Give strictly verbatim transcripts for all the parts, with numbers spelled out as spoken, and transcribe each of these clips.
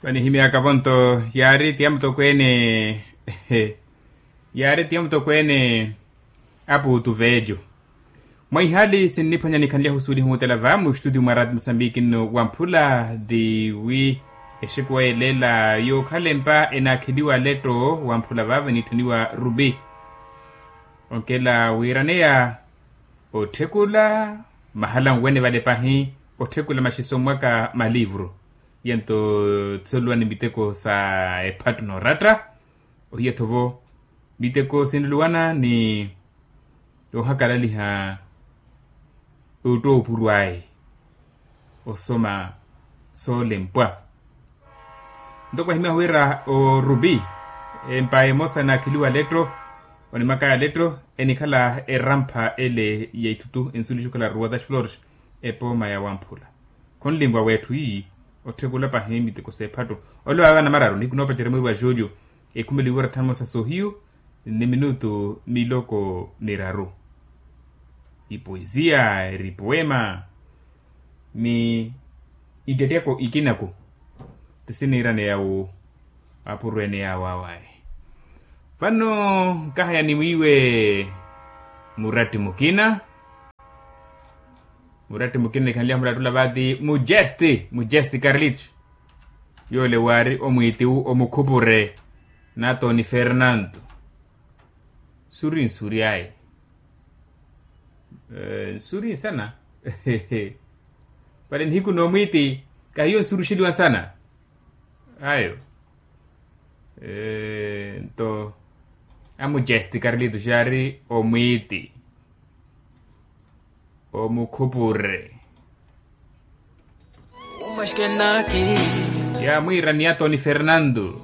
Vanihimyaka vonto yaari tiya mutokweene. Yaari tiya mutokweene. Apuutu veelyo. Mwa ihaali sinniphwanya nikhanlyahu suuliha omutela va mustutio mwa raati musambiki nno wamphula. Ti wi exekuwa yelela yookhalempa enaakheliwa letto wamphula vaavo eniitthaniwa rupi. Onkela wiiraneya otthekula mahala nwene vale pahi. Otthekula maxiso mwaka malivru yento tsoluwa ni miteko sa ephattu nooratta. Ohiya-tho vo miteko sinluwana ni ohakalaliha ottwa opurw'aye osoma soolempwa. Nto kwahimyahu wira orupi empayi emosa enaakheliwa letto onimakaya letto enikhala erampha ele ya ithutu ensulixi okhala rua das flores epooma ya wamphula. Khonlimwa wetthu ii otthekula pahi miteko s'ephattu. Ole wawe anamararu nihiku noopacerya mwiiri wa julio ekhumeliwe wira thanu mosa soohiyu ni minutu miloko miraru. Ipoesia eri poema ni ittetteko ikinaku ti siniiraneya wu apurweene yaawawaye. Vano nkahaya ni mwiiwe muratti mukina. Muratti mukina nikhanlyahu murattula vaati mujesti mujesti carlito. Yoole waari omwiitiwu omukhupure natoni fernanto. Suri nsuryaye nsuri nsana. Vale nihiku n'omwiiti kahiyo nsuruxeliwa nsana. Ayo nto amujesti carlito xaari omwiiti omukhupure. Yamwiira ni atoni fernando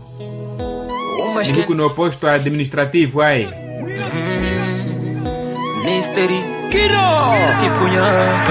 nihiku n'oposto administrativo ayi. Misteri kiro kiphunya.